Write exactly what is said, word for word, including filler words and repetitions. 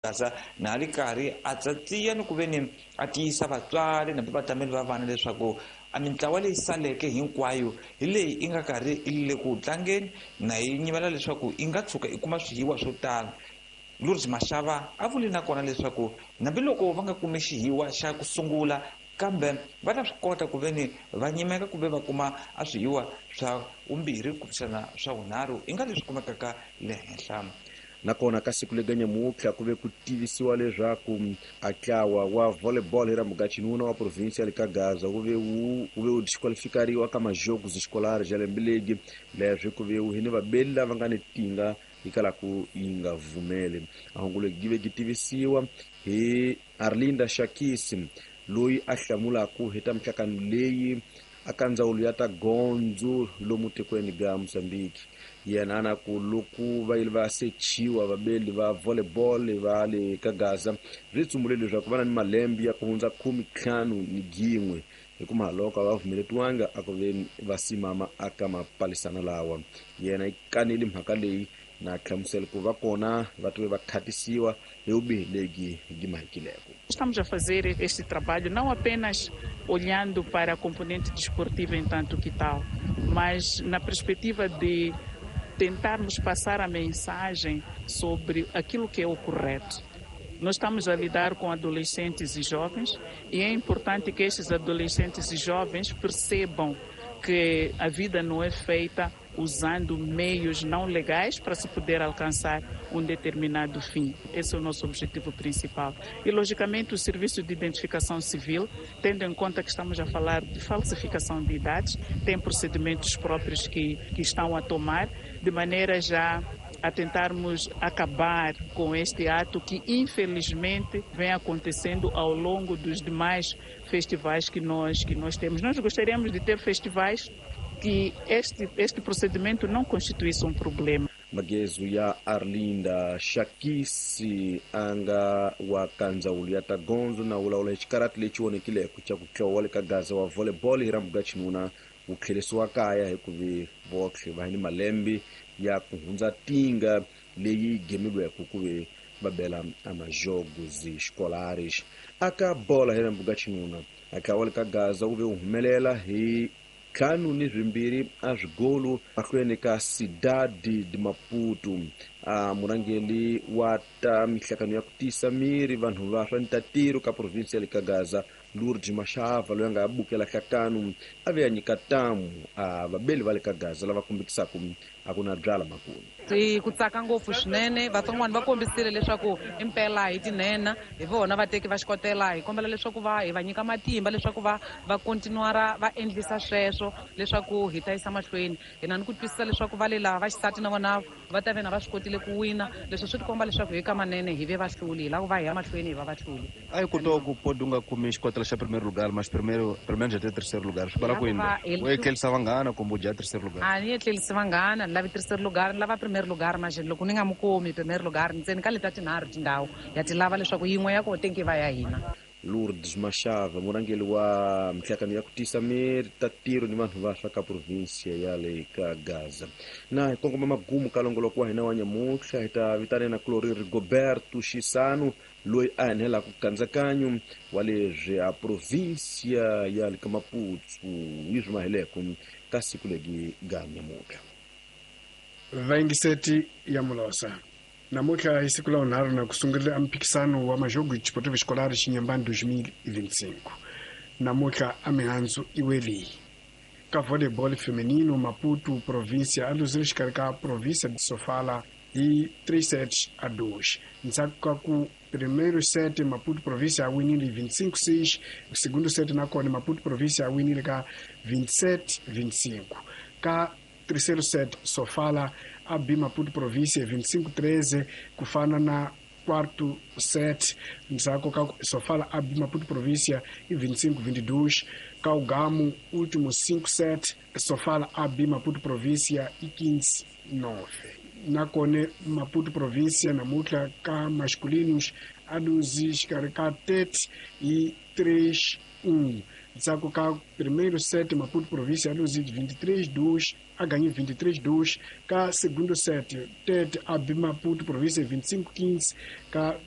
Gaza na ri karhi a tsatsiya ni ku ve ni a tiyisa vatswari na vatameli va vana leswaku a mintlawa leyi saleke hinkwayo hi leyi i nga karhi i le ku tlangeni na yi nyimela leswaku i nga tshuka i kuma swihiwa swo tala. Lourdes Mashava a vuli na kona leswaku hambiloko va nga kumi xihiwa xa ku sungula kambe va ta swi kota ku ve ni va nyimeka kumbe va kuma a swihiwa swa vumbirhi kumbexana swa vunharhu i nga leswi kumekaka le henhla. Nakona ka siku lega nyamutlha ku ve ku tivisiwa leswaku a ntlawa wa volleyball hi ra mugaxinuna wa provinsia le ka Gaza wu ve wu wu ve wu disqualifikariwa ka majogos escolares ya lembe legi leswi ku ve wu hi ni vabeli lava nga ni tinga hikwalaho yi nga vumeli. A hungu legi gi ve gi tivisiwa hi Arlinda Shakisi loyi a hlamulaka hi ta mihlangano leyi aka ndzawulo ya ta gondzo lomu tikweni ga Mozambique. Yena ana ku loko va yile va sechiwa vabeli va volleyball va le ka Gaza swi tsumbule leswaku va na ni malembe ya ku hundza khume ntlhanu ni gin'we hi ku mahaloko a va pfumeletiwanga a ku ve va simama aka mapalisana lawa. Yena yi kanele mhaka leyi na hlamusela ku va kona va tive va khatisiwa hi vubihi lebyi byi mahikileko. Estamos a fazer este trabalho não apenas olhando para a componente desportiva em tanto que tal, mas na perspectiva de tentarmos passar a mensagem sobre aquilo que é o correto. Nós estamos a lidar com adolescentes e jovens e é importante que estes adolescentes e jovens percebam que a vida não é feita usando meios não legais para se poder alcançar um determinado fim. Esse é o nosso objetivo principal. E, logicamente, o Serviço de Identificação Civil, tendo em conta que estamos a falar de falsificação de idades, tem procedimentos próprios que, que estão a tomar, de maneira já a tentarmos acabar com este ato que, infelizmente, vem acontecendo ao longo dos demais festivais que nós, que nós temos. Nós gostaríamos de ter festivais que este, este procedimento não constituísse um problema. Magezu ya Arlinda Shakisi anga wa ka ndzawulo ya ta gondzo na wulawula hi xikarati lexi onhekileke xa ku tlowa le ka Gaza wa volleyball hi ra mugaxinuna wu tlherisiwa kaya hikuva votlhe va ni malembe ya ku hundza tinga leyi gemiweke ku ve va bela amajogos escolares. Aka bola hi ra mugaxinuna a tlawa le ka Gaza wu ve wu humelela hi ntlhanu ni swimbirhi a swigolo mahlweni ka Cidade de Maputo. A murhangeri wa ta mihlangano ya ku tiyisa miri vanhu va swa ntatiro ka provinsi ya le ka Gaza Lourdes Mashava loyi a nga bukela nhlakano a ve a nyika ntamu a vabeli va le ka Gaza lava kombekisaka a ku na byala makulu. Hi ku tsaka ngopfu swinene vatsongwana va kombisile leswaku impela hi tinhenha hi vona vateki va xikotela hi kombela leswaku va hi va nyika matimba leswaku va va continuara va endlisa sweswo leswaku hi ta yisa mahlweni. Hi na ni ku twisisa leswaku va le laha va xisati na vona va ta ve na va swi kotile ku wina leswi swi tikomba leswaku hi ka manene hi ve vahluli hi lava ku va hi ya mahlweni hi va vahluli. A yi kota ku podi u nga kumi xikotela xa primeiro lugar mas primeiro pelo menos até terceiro lugar swi vula ku yini u etlerisa vanghana kumbe u dya terceiro lugar? A ni etlerisi vanghana ni lavi terceiro lugar ni lava primeiro lugar mas loko ni nga mu kumi primeiro lugar ntsena ka leta tinharhu tindhawu ya ti lava leswaku yin'we ya kona tenki va ya hina. Lourdes Mashava murhangeri wa mihlangano ya ku tiyisa miri ta tiro ni vanhu va swa ka provinsia ya le ka Gaza. Na hi kongoma magumu ka longoloko wa hina wa nyamutlha hi ta vitana na Clorir Roberto Xisano loyi a enhelaka nkatsakanyo wa leswi a provinsia ya le ka Maputo yi swi maheleko ka siku legi ga nyamutlha. Vayingiseti ya Mulosa namuntlha hi siku la vunharhu na ku sungurile a mphikisano wa majogo desportivo escolar Xinyimbani dois mil e vinte e cinco. Namuntlha a mihandzu i weleyi ka volleyball feminino Maputo província a luzile xikarhi ka província de Sofala hi três sets a dois. Ndzhaku ka ku primeiro set Maputo província a winile vinte e cinco seis, segundo set nakona Maputo província a winile ka vinte e sete vinte e cinco. Ka terceiro set Sofala a B Maputo província vinte e cinco treze ku fana na quarto set ndzhaku ka Sofala a B Maputo província i vinte e cinco vinte e dois. Ka ugamu último cinco set Sofala a B Maputo província i quinze nove. Nakone Maputo província namuntlha ka masculinos a luzi xikarhi ka Tete i três um. Ntsako ka primeiro set Maputo província aluzide vinte e três dois, a ganhou vinte e três dois. Ka segundo set, Tete a B Maputo província vinte e cinco quinze. Ka